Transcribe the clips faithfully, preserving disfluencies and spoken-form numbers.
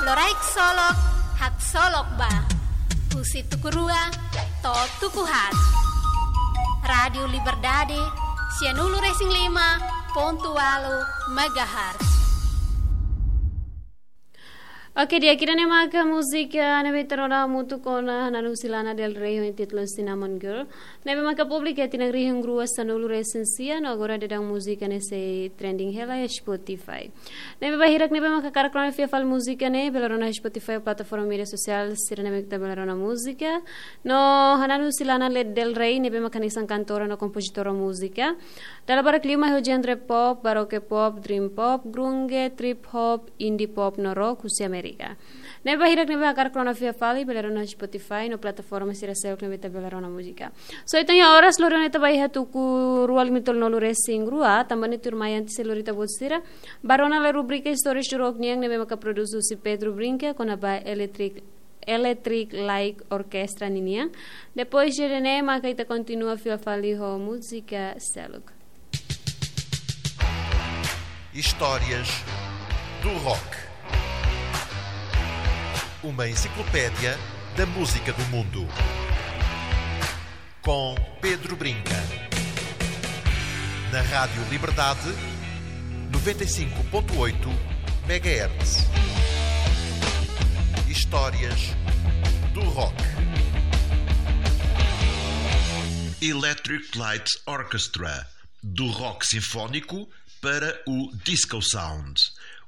Loraik solok, haksolok ba. Husi tuku rua to'o tuku haat. Rádiu Liberdade, sianulu-resin-lima pontu ualu megahertz. Oke, di'ak, ida-ne'e maka múzika ne'ebé ita rona hamutuk ona Hananu husi Lana Del Rey ho títulu Cinnamon Girl. Ne'ebé maka publika iha tinan rihun rua sanulu-resin-sia, no agora daudaun múzika ne'e sei trending hela iha Spotify. Ne'ebé ba hirak ne'ebé maka hakarak rona fila fali múzika ne'e, bele rona iha Spotify, plataforma média sosiál sira ne'ebé ita bele rona múzika. No Hananu husi Lana Del Rey ne'ebé maka hanesan kantora no kompozitora múzika. Dala barak liu mai ho genre pop, baroque pop, dream pop, grunge, trip hop, indie pop no rock husi Amérika. Ne'ebé ba hirak ne'ebé hakarak rona fila fali, bele rona Spotify no plataforma sira seluk ne'ebé ita bele rona múzika. So, entaun iha oras lori ona ita ba iha tuku rua lima tolunulu-resin-rua, tanba ne'e tuirmai antes de lori ita-boot sira, bá rona lai rubrika Histórias do Rock nian ne'ebé maka produzidu husi Pedro Brinca, kona-ba Electric, Electric Light Orchestra ninian. Depois de ida-ne'e maka ita kontinua fila fali ho múzika seluk. Histórias do Rock. Uma enciclopédia da música do mundo. Com Pedro Brinca. Na Rádio Liberdade, noventa e cinco ponto oito megahertz. Histórias do Rock. Electric Light Orchestra. Do rock sinfónico para o disco sound.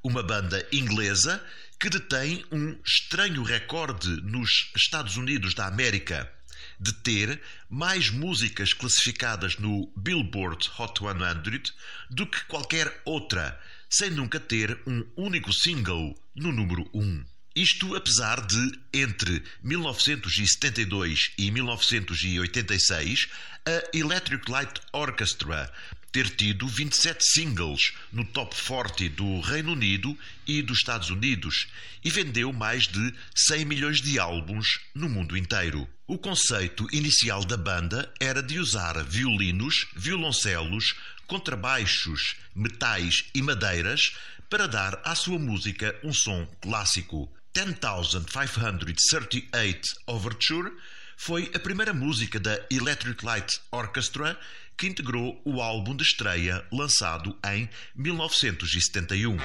Uma banda inglesa que detém um estranho recorde nos Estados Unidos da América, de ter mais músicas classificadas no Billboard Hot cem do que qualquer outra, sem nunca ter um único single no número um. Isto apesar de, entre mil novecentos e setenta e dois e mil novecentos e oitenta e seis, a Electric Light Orchestra ter tido vinte e sete singles no top forty do Reino Unido e dos Estados Unidos e vendeu mais de cem milhões de álbuns no mundo inteiro. O conceito inicial da banda era de usar violinos, violoncelos, contrabaixos, metais e madeiras para dar à sua música um som clássico. Ten thousand five hundred thirty-eight Overture foi a primeira música da Electric Light Orchestra que integrou o álbum de estreia lançado em mil novecentos e setenta e um.